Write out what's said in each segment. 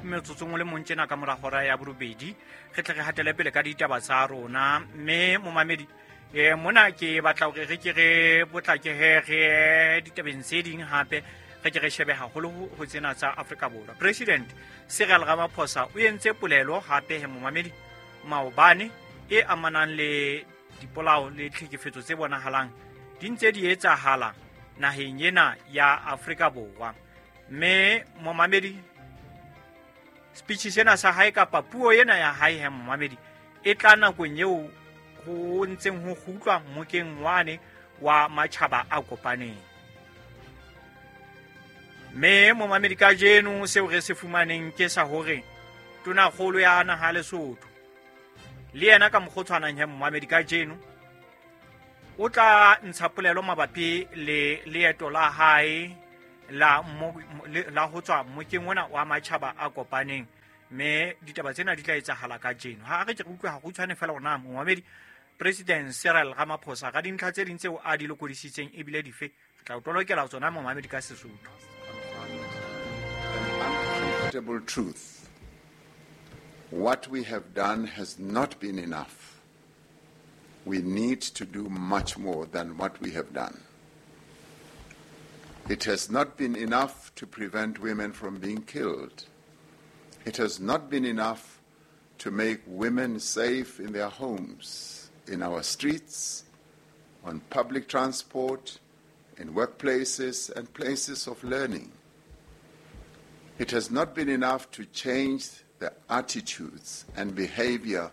Motsotsong o le mong tjena ka mora hora ya borobedi re tle re hatele pele ka ditaba tsa rona. Mme momamedi, mona ke batla hore re ke re potlake he re ditabeng tse ding hape, re ke re shebe haholo ho tsena tsa Afrika Borwa. President Cyril Ramaphosa o entse polelo hape he momamedi maobane e amanang le dipolao le tlhekefetso tse bonahalang di ntse di etsahala naheng ena ya Afrika Borwa. Mme momamedi, speech sena sa hae kapa puo ena ya hae he momamedi e tla nakong eo ho ntseng ho kgutlwa mmokeng wane wa matjhaba a kopaneng. Mme momamedi, kajeno seo re se fumaneng ke sa hore tonakgolo ya naha Lesotho le yena ka mokgwa o tshwanang he momamedi kajeno o tla ntsha polelo mabapi le leeto la hae la ho tswa mmokeng ona wa matjhaba a kopaneng. Mme ditaba tsena di tla etsahala kajeno. Ha re ke re utlwe hakgutshwane fela hore na momamedi President Cyril Ramaphosa ka dintlha tse ding tseo a di lokodisitseng ebile dife, re tla o tolokela tsona momamedi ka Sesotho. Uncomfortable truth. What we have done has not been enough. We need to do much more than what we have done. It has not been enough to prevent women from being killed. It has not been enough to make women safe in their homes, in our streets, on public transport, in workplaces and places of learning. It has not been enough to change the attitudes and behavior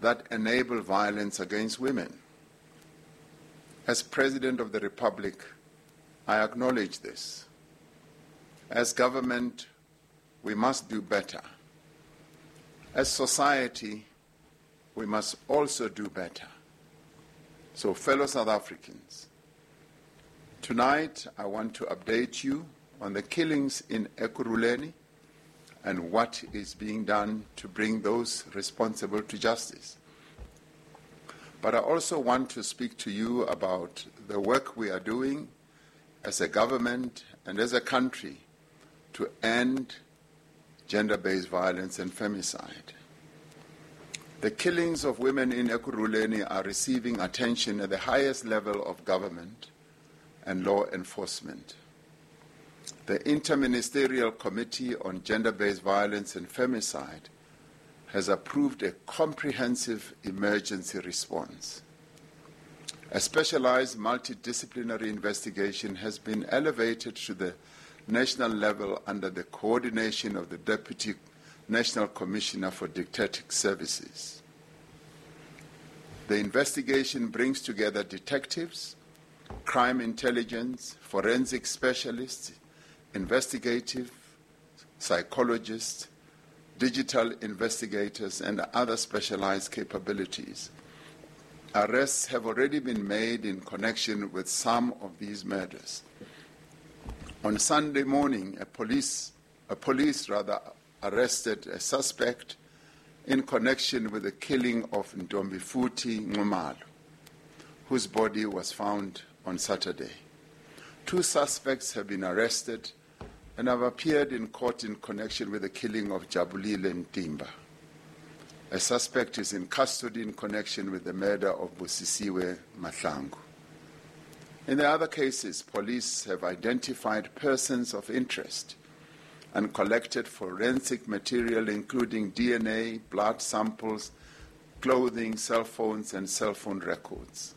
that enable violence against women. As President of the Republic, I acknowledge this. As government, we must do better. As society, we must also do better. So, fellow South Africans, tonight I want to update you on the killings in Ekurhuleni and what is being done to bring those responsible to justice. But I also want to speak to you about the work we are doing as a government and as a country to end gender-based violence and femicide. The killings of women in Ekurhuleni are receiving attention at the highest level of government and law enforcement. The Interministerial Committee on Gender-Based Violence and Femicide has approved a comprehensive emergency response. A specialized multidisciplinary investigation has been elevated to the national level under the coordination of the Deputy National Commissioner for Detective Services. The investigation brings together detectives, crime intelligence, forensic specialists, investigative psychologists, digital investigators, and other specialized capabilities. Arrests have already been made in connection with some of these murders. On Sunday morning, a police arrested a suspect in connection with the killing of Ntombifuthi Nxumalo, whose body was found on Saturday. 2 suspects have been arrested and have appeared in court in connection with the killing of Jabulile Ntimba. A suspect is in custody in connection with the murder of Busisiwe Mahlangu. In the other cases, police have identified persons of interest and collected forensic material including DNA, blood samples, clothing, cell phones, and cell phone records.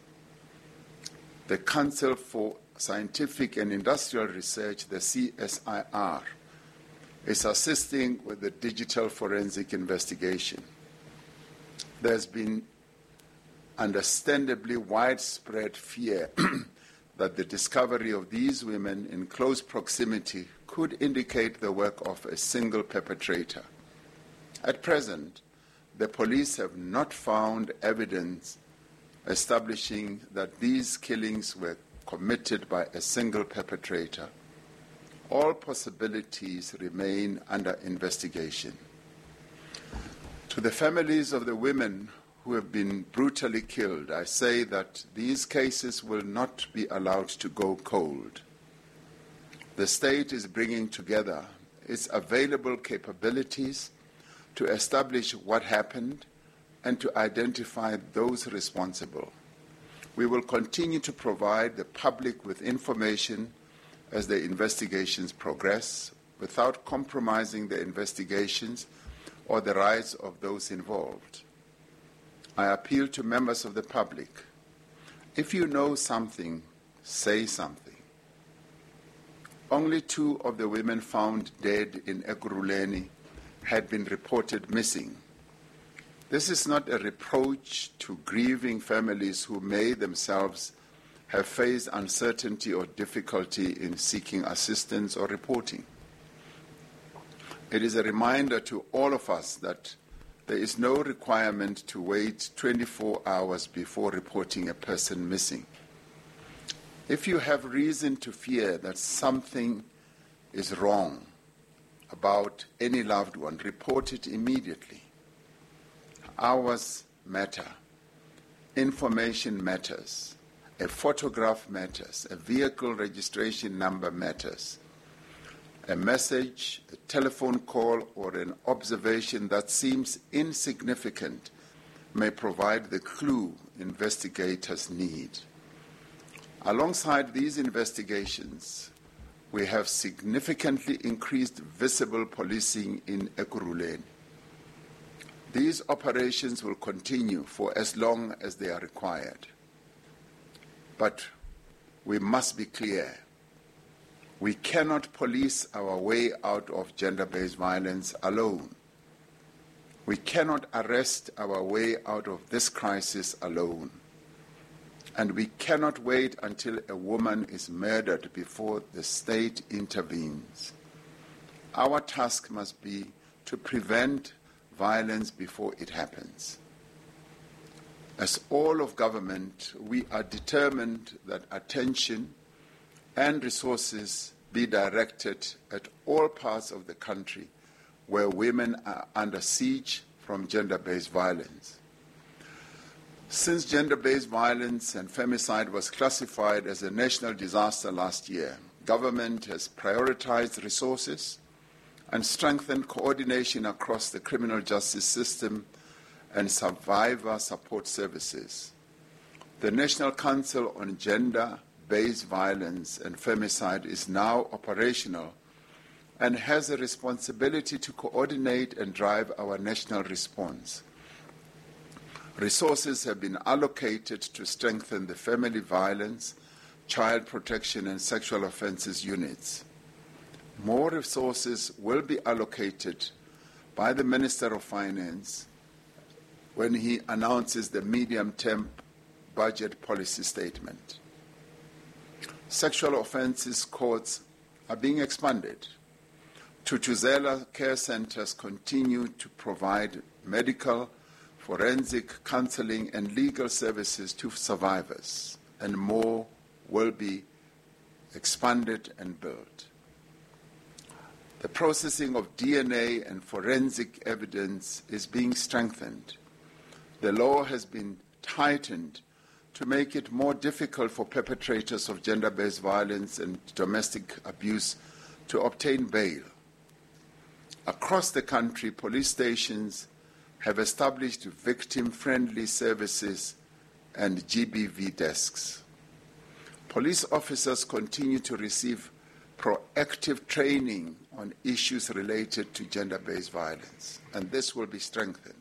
The Council for Scientific and Industrial Research, the CSIR, is assisting with the digital forensic investigation. There's been understandably widespread fear that the discovery of these women in close proximity could indicate the work of a single perpetrator. At present, the police have not found evidence establishing that these killings were committed by a single perpetrator. All possibilities remain under investigation. To the families of the women who have been brutally killed, I say that these cases will not be allowed to go cold. The state is bringing together its available capabilities to establish what happened and to identify those responsible. We will continue to provide the public with information as the investigations progress, without compromising the investigations or the rights of those involved. I appeal to members of the public. If you know something, say something. Only 2 of the women found dead in Ekurhuleni had been reported missing. This is not a reproach to grieving families who may themselves have faced uncertainty or difficulty in seeking assistance or reporting. It is a reminder to all of us that there is no requirement to wait 24 hours before reporting a person missing. If you have reason to fear that something is wrong about any loved one, report it immediately. Hours matter. Information matters. A photograph matters. A vehicle registration number matters. A message, a telephone call, or an observation that seems insignificant may provide the clue investigators need. Alongside these investigations, we have significantly increased visible policing in Ekurhuleni. These operations will continue for as long as they are required. But we must be clear. We cannot police our way out of gender-based violence alone. We cannot arrest our way out of this crisis alone. And we cannot wait until a woman is murdered before the state intervenes. Our task must be to prevent violence before it happens. As all of government, we are determined that attention and resources be directed at all parts of the country where women are under siege from gender-based violence. Since gender-based violence and femicide was classified as a national disaster last year, government has prioritized resources and strengthened coordination across the criminal justice system and survivor support services. The National Council on Gender-Based Violence and Femicide is now operational and has a responsibility to coordinate and drive our national response. Resources have been allocated to strengthen the family violence, child protection, and sexual offences units. More resources will be allocated by the Minister of Finance when he announces the medium-term budget policy statement. Sexual offences courts are being expanded. Thuthuzela care centres continue to provide medical, forensic counseling and legal services to survivors, and more will be expanded and built. The processing of DNA and forensic evidence is being strengthened. The law has been tightened to make it more difficult for perpetrators of gender-based violence and domestic abuse to obtain bail. Across the country, police stations have established victim-friendly services and GBV desks. Police officers continue to receive proactive training on issues related to gender-based violence, and this will be strengthened.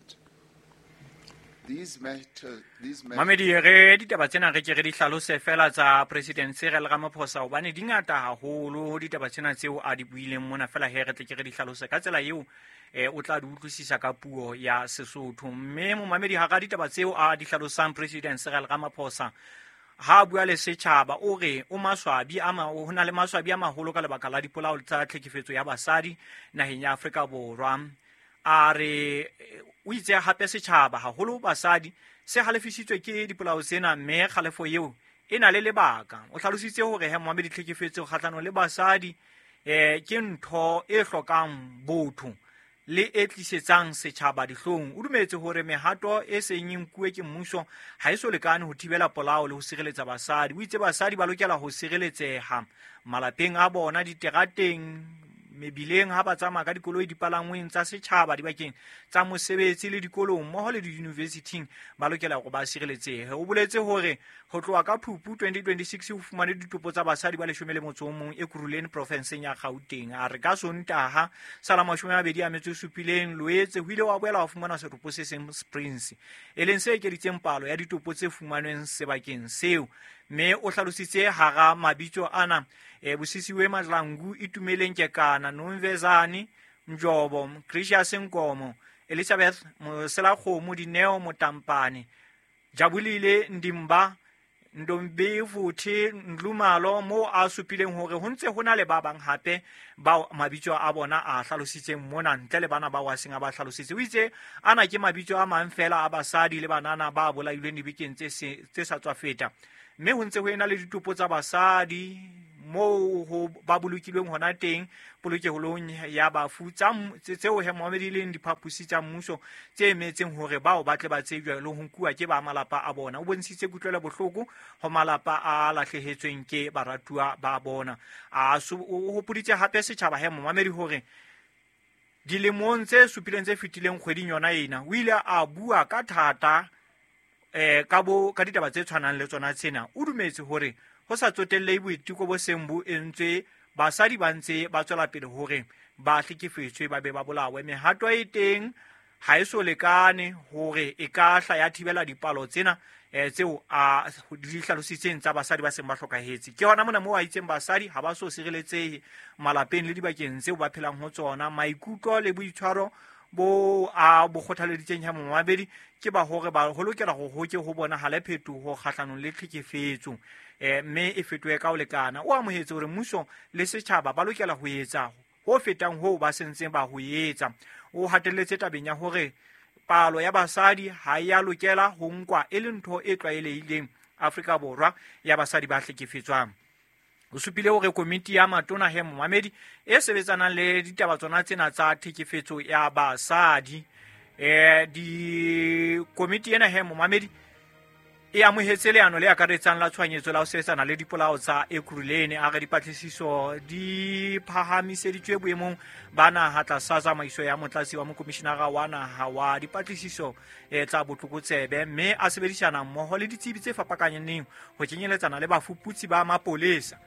Mamedi re ditaba tsena re ke re di hlalose fela tsa President Cyril Ramaphosa hobane di ngata haholo ditaba tsena tseo a di buileng mona fela he re tle ke re di hlalose ka tsela eo o tla di utlwisisa ka puo ya Sesotho. Mme momamedi ha ka ditaba tseo a di hlalosang President Cyril Ramaphosa ha bua le setjhaba o re o maswabi ama ho na le maswabi a maholo ka lebaka la dipolao tsa tlhekefetso ya basadi naheng ya Afrika Borwa. A re o itse hape setjhaba haholo basadi se halefisitswe ke dipolao tsena mme kgalefo eo e na le lebaka. O hlalositse hore he moamedi tlhekefetso kgahlano le basadi ke ntho e hlokang botho le e tlisetsang setjhaba dihlong. O dumetse hore mehato e seng e nkuwe ke mmuso ha e so lekane ho thibela polao le ho sireletsa basadi. O itse basadi ba lokela ho sireletseha malapeng a bona, diterateng, Mebileng ha ba tsamaya ka dikoloi, dipalangweng tsa setjhaba, dibakeng tsa mosebetsi le dikolong mmoho le diyunivesithing ba lokela hore ba sireletsehe. O boletse hore ho tloha ka Phupu 2026 ho fumane ditopo tsa basadi ba 11 Ekurhuleni profenseng ya Gauteng. A re ka Sontaha sa la 27 Loetse ho ile wa boela wa fumana setopo se seng Springs, e leng se ekeditseng palo ya ditopo tse fumanweng sebakeng seo. Mme o hlalositse hara mabitso ana Bosisiwe Mahlangu, Itumeleng Kekana, Nomvezane Mjobo, Gracious Nkomo, Elizabeth Moselakgomo, Dineo Motampane, Jabulile Ndimba, Ndombefuthi Nlumalo, moo a supileng hore ho ntse ho na le ba bang hape bao mabitso a bona a hlalositseng mona ntle le bana bao a seng a ba hlalositse. O itse ana ke mabitso a mang fela a basadi le banana ba bolailweng dibekeng tse sa tswa feta, mme ho ntse ho ena le ditopo tsa basadi moo ho ba bolokilweng hona teng polokeholong ya bafu tseo he moamedi leng diphaposi tsa mmuso tse emetseng hore bao ba tle ba tsejwe le ho nkuwa ke ba malapa a bona. O bontshitse kutlwelo bohloko ho malapa a lahlehetsweng ke baratuwa ba bona. O hopoditse hape setjhaba he momamedi hore dilemong tse supileng tse fetileng kgweding yona ena o ile a bua ka thata ka ditaba tse tshwanang le tsona tsena. O dumetse hore ho sa tsotellehe boiteko bo seng bo entswe, basadi ba ntse ba tswela pele hore ba hlekefetswe ba be ba bolawe. Mehato e teng ha e so lekane hore e ka hla ya thibela dipalo tsena tseo a di hlalositseng tsa basadi ba seng ba hlokahetse. Ke hona mona moo a itseng basadi ha ba so sireletsehe malapeng le dibakeng tseo ba phelang ho tsona. Maikutlo le boitshwaro bo a bo kgothaleditseng ya momabedi ke ba hore ba ho lokela ho hoke ho bonahale phetoho kgahlanong le tlhekefetso, mme e fetohe ka ho lekana. O amohetse hore mmuso le setjhaba ba lokela ho etsa ho fetang hoo ba sentseng ba ho etsa. O hatelletse tabeng ya hore palo ya basadi ha ya lokela ho nkwa e le ntho e tlwaelehileng Afrika Borwa ya basadi ba hlekefetswang. O supile hore komiti ya matona he momamedi e sebetsanang le ditaba tsona tsena tsa tlhekefetso ya basadi, di komiti ena he momamedi e amohetse leano le akaretsang la tshohanyetso la ho sebetsana le dipolao tsa Ekurhuleni. A re dipatlisiso di phahamiseditswe boemong ba naha tlasa tsamaiso ya motlatsi wa mokomishinara wa naha wa dipatlisiso tsa botlokotsebe, mme a sebedisana mmoho le ditsebi tse fapakaneng ho kenyeletsana le bafuputsi ba mapolesa,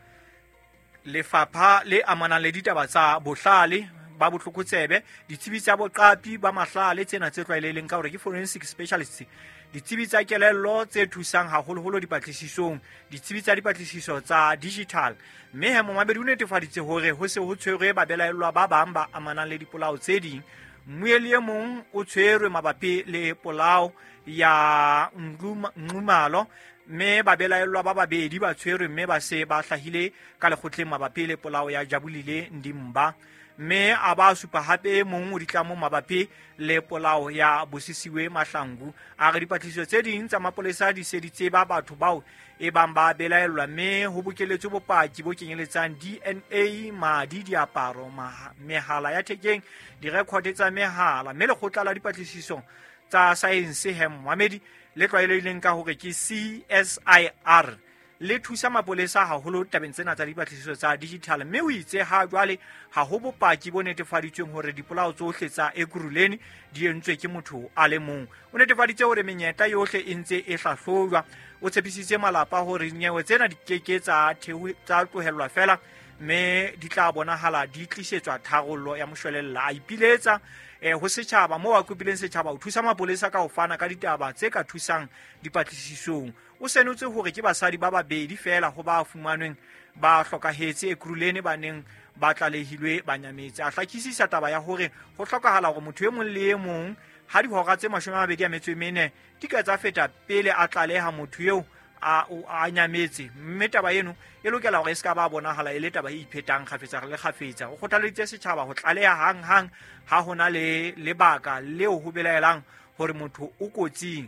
lefapha le amanang le ditaba tsa bohlale ba botlokotsebe, ditsebi tsa boqapi ba mahlale tsena tse tlwaelehileng ka hore ke forensic specialists, ditsebi tsa kelello tse thusang haholoholo dipatlisisong, ditsebi tsa dipatlisiso tsa digital. Mme he momamedi o netefaditse hore ho se ho tshwerwe babelaellwa ba bang ba amanang le dipolao tse ding. Mmueli e mong o tshwerwe mabapi le polao ya Nxumalo, mme babelaellwa ba babedi ba tshwerwe mme ba se ba hlahile ka lekgotleng mabapi le polao ya Jabulile Ndimba. Mme a ba supa hape e mong o ditlamong mabapi le polao ya Bosisiwe Mahlangu. A re dipatlisiso tse ding tsa mapolesa di se di tseba batho bao e bang ba belaellwa, mme ho bokeletswe bopaki bo kenyeletsang DNA, madi, diaparo, mehala ya thekeng, direkhote tsa mehala. Mme lekgotla la dipatlisiso tsa saense he momamedi le tlwaelehileng ka hore ke CSIR le thusa mapolesa haholo tabeng tsena tsa dipatlisiso tsa digital. Mme o itse ha jwale ha ho bopaki bo netefaditsweng hore dipolao tsohle tsa Ekurhuleni di entswe ke motho a le mong. O netefaditse hore menyetla yohle e ntse e hlahlojwa. O tshepisitse malapa hore dinyewe tsena di keke tsa tlohellwa fela, mme di tla bonahala di tlisetswa tharollo ya moshwelella. A ipiletsa ho setjhaba moo a kopileng setjhaba ho thusa mapolesa ka ho fana ka ditaba tse ka thusang dipatlisisong. O senotse hore ke basadi ba babedi fela ho ba fumanweng ba hlokahetse Ekurhuleni ba neng ba tlalehilwe ba nyametse. A hlakisisa taba ya hore ho hlokahala hore motho e mong le e mong ha dihora tse 24 di ka tsa feta pele a tlaleha motho eo a nyametse, mme taba eno e lokela hore e se ka ba bonahala e le taba e iphetang kgafetsa le kgafetsa. O kgothaleditse setjhaba ho tlaleha hang-hang ha ho na le lebaka leo ho belaelang hore motho o kotsing.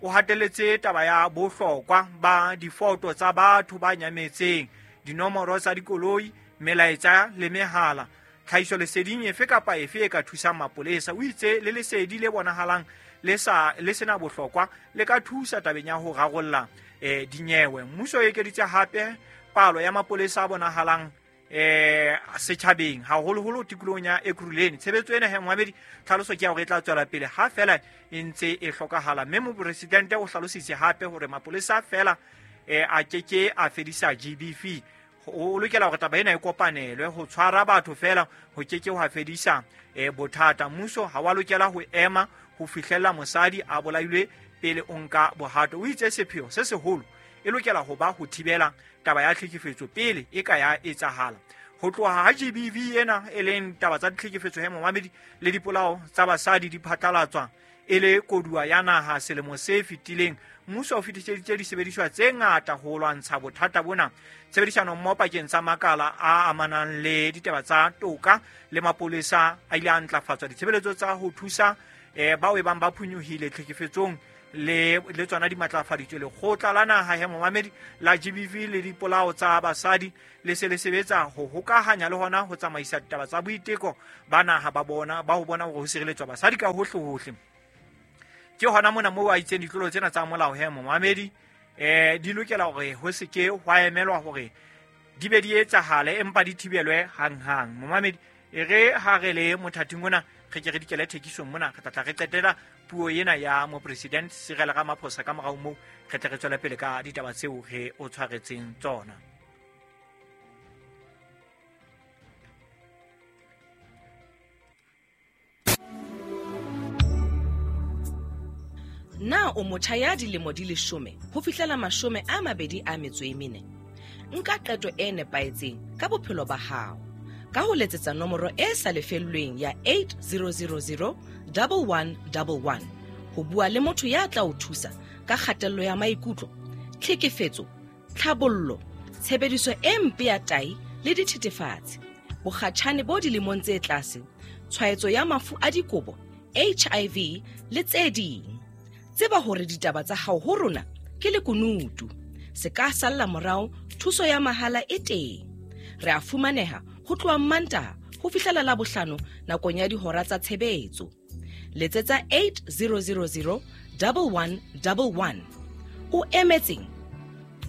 O hatelletse taba ya bohlokwa ba difoto tsa batho ba nyametseng, dinomoro tsa dikoloi, melaetsa le mehala, tlhahiso leseding efe kapa efe e ka thusang mapolesa. O itse le lesedi le bonahalang le sa le sena bohlokwa le ka thusa tabeng ya ho rarolla dinyewe. Mmuso o ekeditse hape palo ya mapolesa a bonahalang Setjhabeng, haholoholo tikolohong ya Ekurhuleni. Tshebetso ena he momamedi, tlhaloso ke ya hore e tla tswela pele ha fela e ntse e hlokahala. Mme mopresidente o hlalositse hape hore mapolesa fela a keke a fedisa GBV. O lokela hore taba ena e kopanelwe. Ho tshwara batho fela ho keke hwa fedisa bothata. Mmuso ha wa lokela ho ema ho fihlella mosadi a bolailwe pele o nka bohato. O itse sepheo se seholo e lokela ho ba ho thibela taba ya tlhekefetso pele e ka ya etsahala. Ho tloha ha GBV ena, e leng taba tsa ditlhekefetso he momamedi le dipolao tsa basadi, di phatlalatswa e le koduwa ya naha selemo se fetileng, mmuso o fetiseditse disebediswa tse ngata ho lwantsha bothata bona. Tshebedisano mmoho pakeng tsa makala a amanang le ditaba tsa toka le mapolesa a ile a ntlafatswa. Ditshebeletso tsa ho thusa bao e bang ba phunyohile tlhekefetsong le tsona di matlafaditswe. Lekgotla la naha he momamedi la GBV le dipolao tsa basadi le se le sebetsa ho hokahanya le hona ho tsamaisa ditaba tsa boiteko ba naha ba bona ba ho bona hore ho sireletswa basadi ka hohle hohle. Ke hona mona moo a itseng ditlolo tsena tsa molao he momamedi di lokela hore ho se ke hwa emelwa hore di be di etsahale, empa di thibelwe hanghang. Momamedi, e re ha re le mothating ona re ke re dikele thekisong mona, re tla tla re qetela puo ena ya mopresident Cyril Ramaphosa. Ka morao moo re tle re tswele pele ka ditaba tseo re o tshwaretseng tsona. Na o motjha ya dilemo di 10 ho fihlela 24? Nka qeto e nepahetseng ka bophelo ba hao ka ho letsetsa nomoro e sa lefellweng ya 8000 1111 ho bua le motho ya tla o thusa ka kgatello ya maikutlo, tlhekefetso, tlhabollo, tshebediso e mpe ya tai le dithethefatsi, bokgatjhane bo dilemong tse tlase, tshwaetso ya mafu a dikobo, HIV le tse ding. Tseba hore ditaba tsa hao ho rona ke lekunutu. Se ka salla morao, thuso ya mahala e teng. Re a fumaneha ho tloha Mantaha ho fihlela Labohlano nakong ya dihora tsa tshebetso. Letsetsa 8000 1111. O emetseng?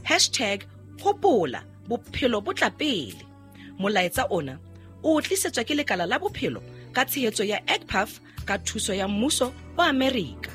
Hashtag hopola bophelo bo tla pele. Molaetsa ona o tlisetswa ke lekala la bophelo ka tshehetso ya EGPAF ka thuso ya mmuso wa Amerika.